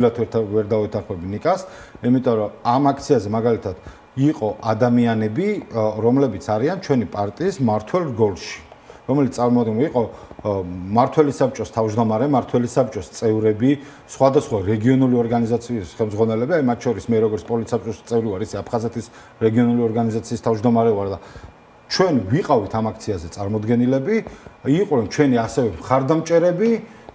ვერ დავეთანხმები ნიკას, იმიტომ რომ ამ აქციაზე მაგალითად იყო ადამიანები, რომლებიც არიან ჩვენი პარტიის მმართველ რგოლში, რომელიც წარმოადგენენ იყო მმართველი საბჭოს თავმჯდომარე, მმართველი საბჭოს წევრები, სხვადასხვა რეგიონული ორგანიზაციის ხელმძღვანელები, მათ შორის მე როგორც პოლიცსაბჭოს წევრი ვარ, ის აფხაზეთის რეგიონული ორგანიზაციის თავმჯდომარე ვარ და ჩვენ ვიყავით ამ აქციაზე წარმოდგენილები, იყვნენ ჩვენი ასევე მხარდამჭერები,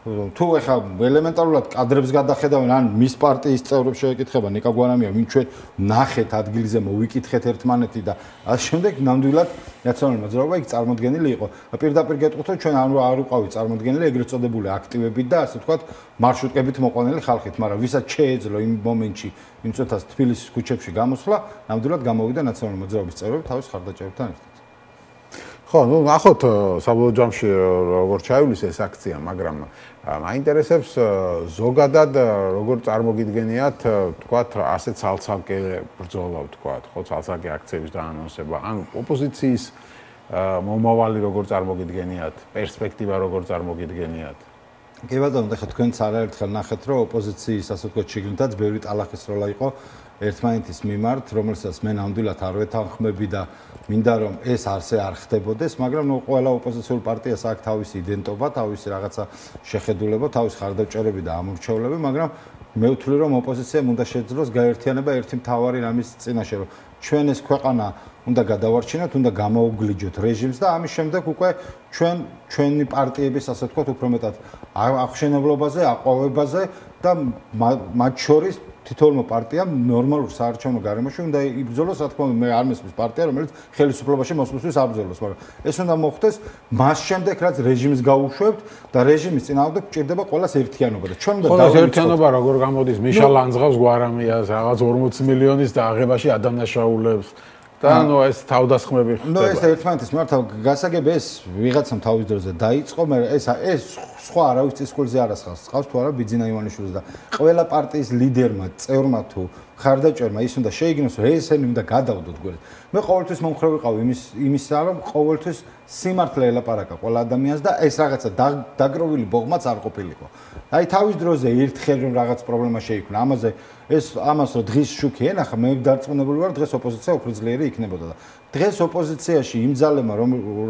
თუ ეხა ელემენტარულად კადრებს გადახედავენ, ან მის პარტიის წევრებს შეეკითხება, ნიკა გვარამია, ვინ ჩვენ ნახეთ ადგილზე, მოვიკითხეთ ერთმანეთი და ამ შემდეგ ნამდვილად ნაციონალური მოძრაობა იქ წარმოდგენილი იყო. პირდაპირ გეტყვით, რომ ჩვენ არ ვიყავით წარმოდგენილი ეგრეთ წოდებული აქტივებით და ასე ვთქვათ, მარშრუტკებით მოყვანილი ხალხით, მაგრამ ვისაც შეეძლო იმ მომენტში იმ წუთას თბილისის ქუჩებში გამოსვლა, ნამდვილად გამოვიდა ნაციონალური მოძრაობის წევრები თავის ხარდაჭერებთან ერთად. ხო, ну, ნახოთ საბოლოო ჯამში როგორ ჩაივლის ეს აქცია, მაგრამ მაინტერესებს ზოგადად როგორ წარმოგიდგენიათ, თქვათ, ასე ცალ-ცალკე ბრძოლა, თქვათ, ხო, ცალ-ცალკე აქციების დაანონსება, ან ოპოზიციის მომავალი როგორ წარმოგიდგენიათ, პერსპექტივა როგორ წარმოგიდგენიათ? კი ბატონო, ეხლა თქვენც არაერთხელ ნახეთ, რომ ოპოზიციის, ასე ვთქვათ, შიგნითაც ბევრი ტალახის როლა იყო ერთმანეთის მიმართ, რომელსაც მე ნამდვილად არ ვეთანხმები და მინდა რომ ეს არცე არ ხდებოდეს, მაგრამ ნუ ყველა ოპოზიციურ პარტიას აქვს თავისი იდენტობა, თავისი რაღაცა შეხედულება, თავისი ხარდაჭერები და ამორჩევლები, მაგრამ მე ვთვლი რომ ოპოზიციამ უნდა შეძლოს გაერთიანება ერთი მთავარი რამის წინაშე, რომ ჩვენ ეს ქვეყანა უნდა გადავარჩინოთ, უნდა გამოუგლიჯოთ რეჟიმს და ამის შემდეგ უკვე ჩვენი პარტიების, ასე ვთქვათ, უფრო მეტად აღშენებლობაზე, აყვავებაზე და მათ შორის თითოეულმა პარტიამ ნორმალურ საარჩევნო გარემოში უნდა იბრძოლოს, რა თქმა უნდა, მე არ მესმის პარტია, რომელიც ხელისუფლებაში მოსვლისთვის აბრძოლოს, მაგრამ ეს უნდა მოხდეს მას შემდეგ, რაც რეჟიმს გაუშვებთ და რეჟიმის წინააღმდეგ გჭირდება ყველას ერთიანობა და ჩვენ უნდა დავიწყოთ ერთიანობა როგორ გამოდის, მიშა ლანძღავს გვარამიას, რაღაც 40 მილიონის დააღებაში ადანაშაულებს და ნუ ეს თავდასხმები ხდება. ნუ ეს ერთმანეთის მართავ გასაგები ეს ვიღაცამ თავის დროზე დაიწყო, მაგრამ ეს სხვა არავის წისქვილზე არ ასხავს. ყავს თუ არა ბიძინა ივანიშვილს და ყველა პარტიის ლიდერმა, წევრმა თუ ხარდაჭერმა ის უნდა შეიგნოს, რომ ესენი უნდა გადავდოთ გვერდით. მე ყოველთვის მომხრე ვიყავ იმისა, რომ ყოველთვის სიმართლე ელაპარაკა ყველა ადამიანს და ეს რაღაცა დაგროვილი ბოღმაც არ ყოფილიყო. აი თავის დროზე ერთხელ რომ რაღაც პრობლემა შეიქმნა, ამას რომ დღის შუქი ენახა, მე დარწმუნებული ვარ, დღეს ოპოზიცია უფრო ძლიერი იქნებოდა და დღეს ოპოზიციაში იმ ძალებმა,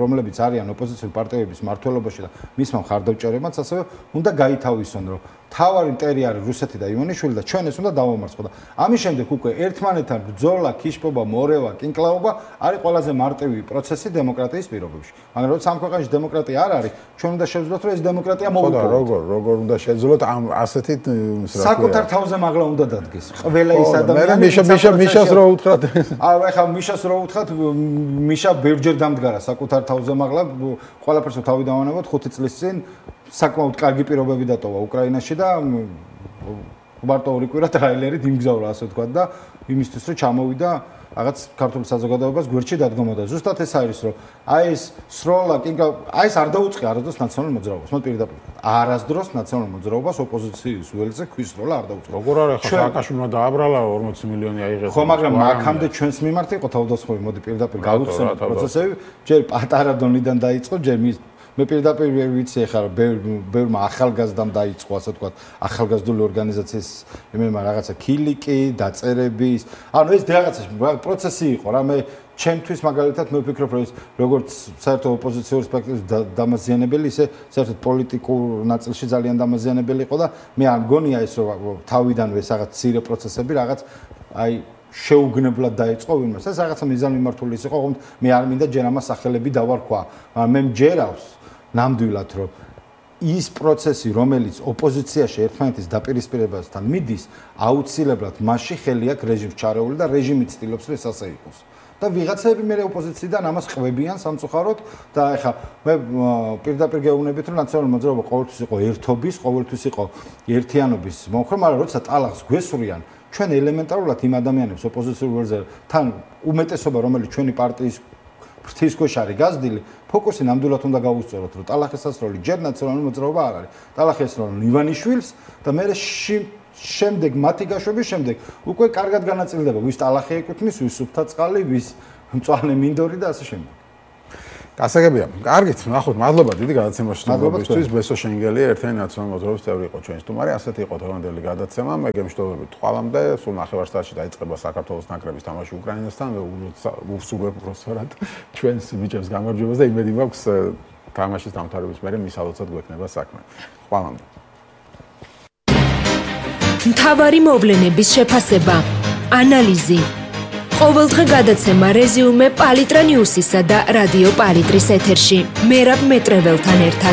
რომლებიც არიან ოპოზიციური პარტიების მმართველობაში და მისმა მხარდაჭერებმაც ასევე უნდა გაითავისონ, რომ თავარი მტერი არის რუსეთი და ივანიშვილი და ჩვენ ეს უნდა დავამარცხო და ამის შემდეგ უკვე ერთმანეთთან ბრძოლა, ქიშპობა, მორევა, კინკლაობა არის ყველაზე მარტივი პროცესი დემოკრატიის პირობებში. მაგრამ როცა ამ ქვეყანაში დემოკრატია არ არის, ჩვენ უნდა შევძლოთ, რომ ეს დემოკრატია მოვიპოვოთ. როგორ უნდა შეძლოთ ამ ასეთი საკუთარ თავზე მაღლა უნდა დადგეს. ყველა ის ადამიანი მიშას რო უთხრათ. ეხლა მიშას რო უთხრათ, მიშა ბევრჯერ დამდგარა საკუთარ თავზე მაღლა, ყველაფერს თავი დავანებოთ 5 წლის წინ საკმაოდ კარგი პირობები დატოვა უკრაინაში და მარტო ორი კვირა ტრაილერით იმგზავრა, ასე ვთქვათ და იმისთვის რომ ჩამოვიდა რაღაც ქართული საზოგადოებას გვერდში დადგომოდა. ზუსტად ეს არის, რომ აი ეს სროლა, აი ეს არ დაუწყია არასდროს ნაციონალურ მოძრაობას. მე პირდაპირ არასდროს ნაციონალურ მოძრაობას ოპოზიციის ველზე ქვის სროლა არ დაუწყია. როგორ არის ახლა სააკაშვილმა დააბრალა 40 მილიონი აიღეს. ხო, მაგრამ აქამდე ჩვენს მიმართ იყო თავდასხმები, მოდი პირდაპირ გავიხსენოთ პროცესები. ჯერ პატარა დონიდან დაიწყო, ჯერ მე პირდაპირ ვიცი ახლა ბევრმა ახალგაზრდამ დაიწყო, ასე ვთქვათ, ახალგაზრდული ორგანიზაციის იმემა რაღაცა ქილიკი, დაწერების. ანუ ეს რაღაცა პროცესი იყო რა, მე ჩემთვის მაგალითად მე ვფიქრობ, რომ ეს როგორც საერთო ოპოზიციურ სპექტრის დამაზიანებელი, ისე საერთოდ პოლიტიკურ ნაწილში ძალიან დამაზიანებელი იყო და მე არ მგონია ეს რომ თავიდანვე ეს რაღაც ცირე პროცესები რაღაც აი შეუგნებლად დაიწყო ვინმეს. ეს რაღაცა მიზანმიმართული იყო, თუმცა მე არ მინდა ჯერ ამას სახელები დავარქვა, მაგრამ მე მჯერავს ნამდვილად რომ ის პროცესი, რომელიც ოპოზიციაში ერთმანეთის დაპირისპირებასთან მიდის, აუცილებლად მასში ხელი აქვს რეჟიმს ჩარეული და რეჟიმი ცდილობს, რომ ეს ასე იყოს. და ვიღაცები მე ოპოზიციიდან ამას ყვებიან სამწუხაროდ და ეხლა მე პირდაპირ გეუბნებით, რომ ნაციონალური მოძრაობა ყოველთვის იყო ერთობის, ყოველთვის იყო ერთიანობის მომხრე, მაგრამ როცა ტალახს გვესვრიან, ჩვენ ელემენტარულად იმ ადამიანებს ოპოზიციურ ველზე თან უმეტესობა, რომელიც ჩვენი პარტიის ფრთისქვეშ არის გაზრდილი, ფოკუსი ნამდვილად უნდა გავუსწოროთ, რომ ტალახის სასროლი ჯერ ნაციონალური მოძრაობა არ არის. ტალახი ესროლენ ივანიშვილს და მე შემდეგ მათი გაშვების შემდეგ უკვე კარგად განაწილდება, ვის ტალახი ეკუთვნის, ვის სუფთა წყალი, ვის მწვანე მინდორი და ასე შემდეგ. გასაგებია. კარგით, ნახოთ, მადლობა დიდი გადაცემაშთვის. ბესო შენგელია ერთიანი ნაციონალური მოძრაობის წევრი იყო ჩვენი სტუმარი. ასეთი იყო დღევანდელი გადაცემა. მე გემშვიდობებით თვალამდე, სულ ნახევარსაათში დაიწყება საქართველოს ნაკრების თამაში უკრაინასთან. ვუსურვებ უბრალოდ ჩვენს ბიჭებს გამარჯვებას და იმედი მაქვს თამაშის დამთავრების მერე მის ალოცად გვექნება საქმე. თვალამდე. მთავარი მოვლენების შეფასება, ანალიზი. ყოველდღე გადაცემა რეზიუმე პალიტრა ნიუსისა და რადიო პალიტრის ეთერში. მერაბ მეტრეველთან ერთად.